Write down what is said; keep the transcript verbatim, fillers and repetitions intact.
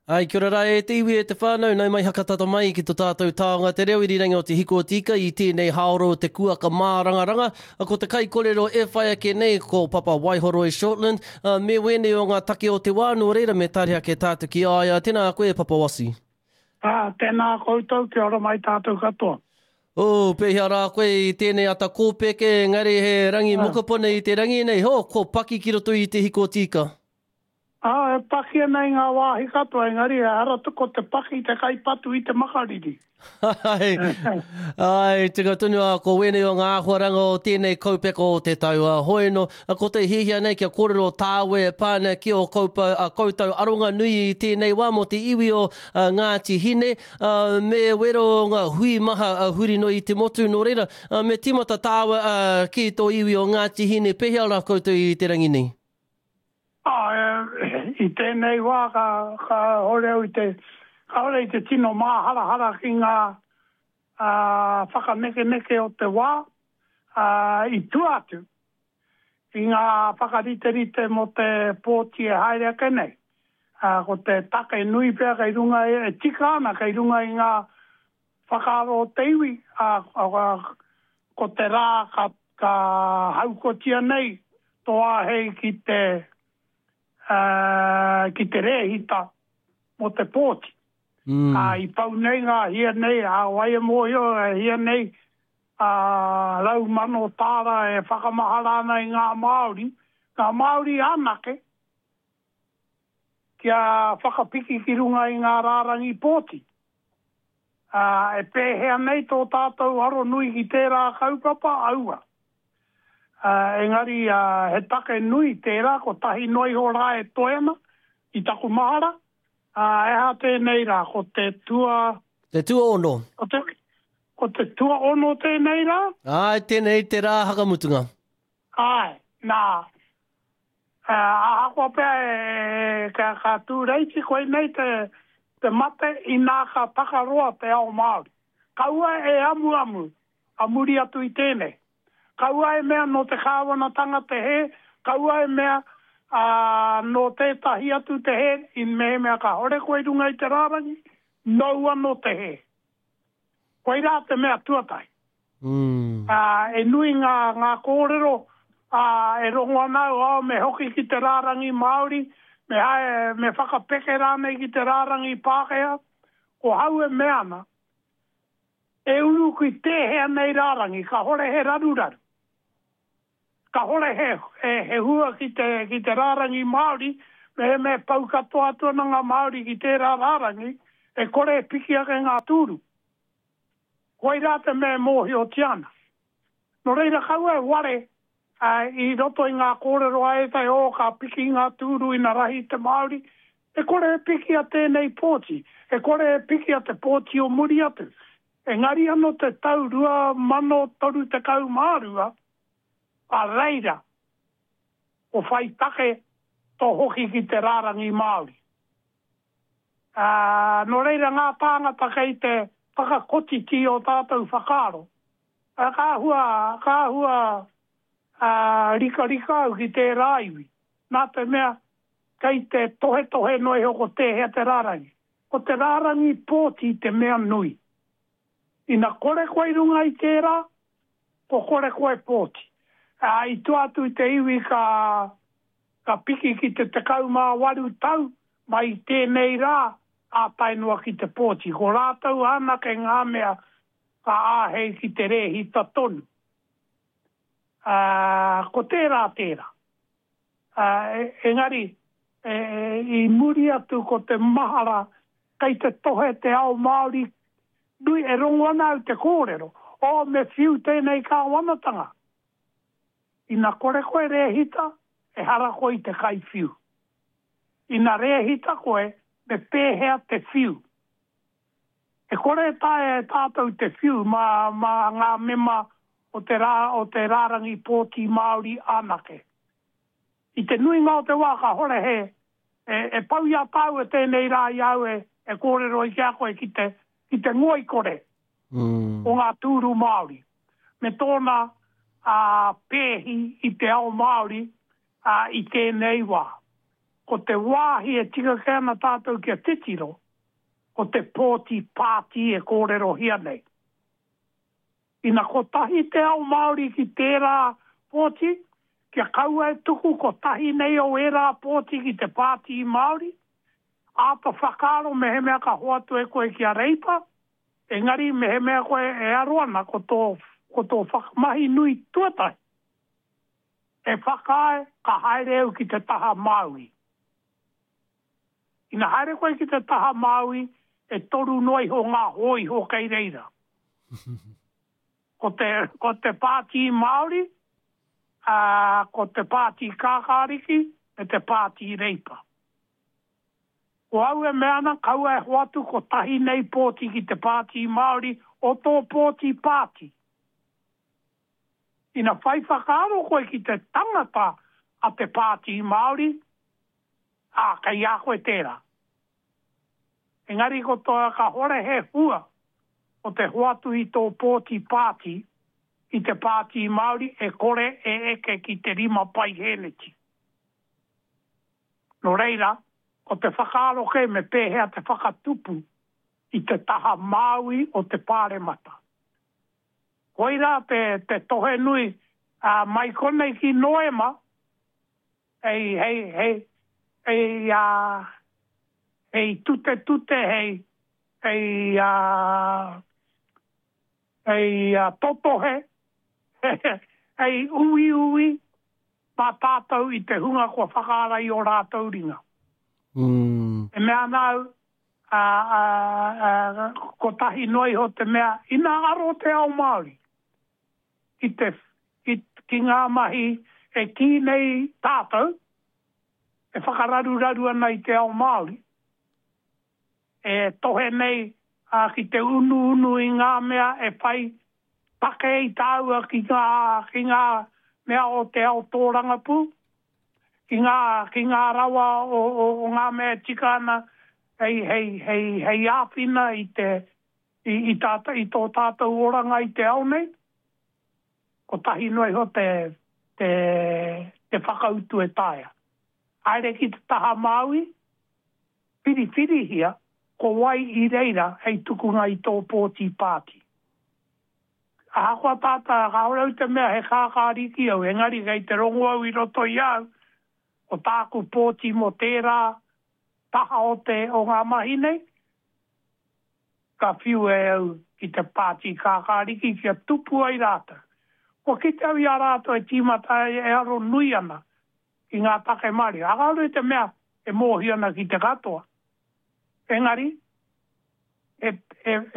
Ai, kia ora rā e te iwi e te whānau, nau mai hakatata mai ki to tātou taonga te reo irirangi o te Hiko o te Ika i tēnei haoro o te kuaka mārangaranga. Ko te kaikorero e whai ake nei ko Papa Waihoroi Shortland, me wēnei o ngā take o te wā, nō reira me tari ake tātou ki a ia. Tēnā koe, Papa Wasi. Ah, tēnā koutou, kia ora mai tātou katoa. Oh, pēhea rā koe i tēnei ata kōpeke, engari he rangi mokopone i te rangi nei, ho, ko paki ki roto i te Hiko o te Ika. Ah, e paki ana i ngā wāhi katoa, engari ehara ko te paki te kaipatu i te makariri. Ai, ai, tika tonu a ko wēnei o ngā āhuaranga o tēnei kaupeka o te tau. A, hoi no, a, ko te hiahia nei kia kōrero tāwe e pā ana ki o koupa, a, koutou aronga nui i tēnei wā mō te iwi o a, Ngāti Hine, a, me wero o ngā hui maha a, huri noa i te motu, nō reira, a, me tīmata tāua a, ki tō iwi o Ngāti Hine, pēhea rā koutou i te rangi nei? Ā, i tēnei wā ka, kāore au i te, kāore i te tino māharahara ki ngā ā, whakanekeneke o te wā, ā, i tua atu i ngā whakariterite mō te pōti e haere ake nei. Ā, ko te take nui pea kei runga, e tika ana kei runga i ngā whakaaro o te iwi, ā, ko te rā ka, ka haukotia nei tō āhei ki te, ā, ki te rēhita mō te pōti. Mm. Ā, i pau nei ngā hia nei, ā, wai e mōhio, e hia nei, ā, rau mano tāra e whakamahara ana i ngā Māori, ngā Māori anake, kia whakapiki ki runga i ngā rārangi pōti. Ā, e pēhea nei tō tātou aro nui ki tērā kaupapa, aua. Ā, engari, ā, he take nui tērā, kotahi noa iho rā e toe ana i taku mahara, ā, he aha tēnei rā, ko te tua... Te tuaono. Ko te, ko te tuaono tēnei rā? Āe, tēnei te rā hakamutunga. Āe, nā, ā, ahakoa pea e, e, ka, ka tūreiti, koinei te, te mate inā ka takaroa te ao Māori. Kaua e amuamu a muri atu i tēnei. Kaua e mea nō te kāwanatanga te hē, kaua e mea, ā, nō tētahi atu te hē, i mehemea kāore koe i runga i te rārangi, nōu anō te hē. Koirā te mea tuatahi. Mm. Ā, e nui ngā, ngā kōrero, ā, e rongo ana au, oh, me hoki ki te rārangi Māori, me hae, me whakapeke rānei ki te rārangi Pākehā. Ko hau e mea ana, E uru ki tēhea nei rārangi, kahore he raruraru. Kahore he, he, he hua ki te, ki te rārangi Māori, mehemea e pau katoa atu ana ngā Māori ki tērā rārangi, e kore e piki ake ngā tūru. Koirā te mea e mōhiotia ana. Nō reira kaua e ware ā, i roto i ngā kōrero a ētahi, oh, ka piki ngā tūru ina rahi te Māori. E kore e pikia tēnei pōti, e kore e pikia te pōti o muri atu. Engari anō te tau rua mano toru tekau mā rua, ka reira ko whai take tō hoki ki te rārangi Māori. Ā, nō reira ngā tāngata kei te whakakotiti ō tātou whakaaro, ā, ka āhua, ka āhua, ā, rikarika au ki tērā iwi, nā te mea kei te tohetohe noa iho ko tēhea te rārangi. Ko te rārangi pōti te mea nui. Ina kore koe i runga i tērā, ko kore koe pōti. Ā, i tua atu i te iwi ka, ka piki ki te tekau mā waru tau mai i tēnei rā, ā tae noa ki te pōti. Ko rātou anake ngā mea ka āhei ki te rēhita tonu. Ā, ko tērā tērā. Ā, engari, e, i muri atu ko te mahara kei te tohe te ao Māori nui, e rongo ana au te kōrero, oh, me whiu tēnei kāwanatanga. Ina kore koe rēhita, ehara koe i te kaiwhiu. Ina rēhita koe, me pēhea te whiu? E kore e taea e tātou te whiu mā, mā ngā mema o te rā, o te rārangi pōti Māori anake. I te nuinga o te wā kāhore he, e, e pau i a tāua tēnei rā i a au e, e kōrero ai ki a koe ki te, ki te ngoikore mm. o ngā tūru Māori, me tōna ā, pēhi i te ao Māori ā, i tēnei wā. Ko te wāhi e tika kē ana tātou kia titiro, ko te pōti pāti e kōrerohia nei. Ina kotahi te ao Māori ki tērā pōti, kia kaua e tuku kotahi nei o ērā pōti ki te Pāti Māori, āta whakaaro mehemea ka hoatu e koe ki a Reipa, engari mehemea koe e aro ana ko tō, ko tō whakamahi nui tuatahi, e whakaae ka haere au ki te taha Māui. Ina haere koe ki te taha Māui, e toru noa iho ngā hōiho kei reira. Ko te, ko te Pāti Māori, ā, ko te Pāti Kākāriki, me te Pāti Reipa. Ko au e mea ana, kaua e hoatu kotahi nei pōti ki te Pāti Māori o tō pōti pāti. Ina whai whakaaro koe ki te tangata a te Pāti Māori, ā, kei a koe tērā. Engari ko tō kāhore he hua o te hoatu i tō pōti pāti ki te Pāti Māori e kore e eke ki te rima paihēneti. Nō reira, ko te whakaaro kē me pēhea te whakatupu i te taha Māui o te Pāremata. Koirā te, te tohe nui, ā, mai konei ki Noema, hei, hei, hei, hei, ā, hei tutetute, hei, hei, ā, hei, ā, totohe, hei uiui mā tātou i te hunga kua whakaara i ō rātou ringa. Mm. E mea ana au, ā, ā, ā, kotahi noa iho te mea, ina aro te ao Māori ki te, ki, ki ngā mahi e kī nei tātou, e whakararuraru ana i te ao Māori, e tohe nei ā, ki te unuunu i ngā mea e whai take i tāua ki ngā, ki ngā mea o te ao tōrangapū, ki ngā, ki ngā rawa o, o, o ngā mea e tika ana hei, hei, hei, hei āwhina i, te, i, i, tāta, i tō tātou oranga i te ao nei. Kotahi noa iho te, te, te whakautu e taea. Haere ki te taha Māui, whiriwhirihia ko wai i reira hei tukunga i tō pōti pāti. Ahakoa tātā, kāore au te mea he kākāriki au, engari kei te rongo au i roto i a au, ko tāku pōti mō tērā taha o te, o ngā mahi nei, ka whiu e au ki te Pāti Kākāriki kia tupu ai rātou. Kua kite au i a rātou e tīmata ai, e aro nui ana ki ngā take Māori. Kāore te mea e mōhio ana ki te katoa. Engari, he, he,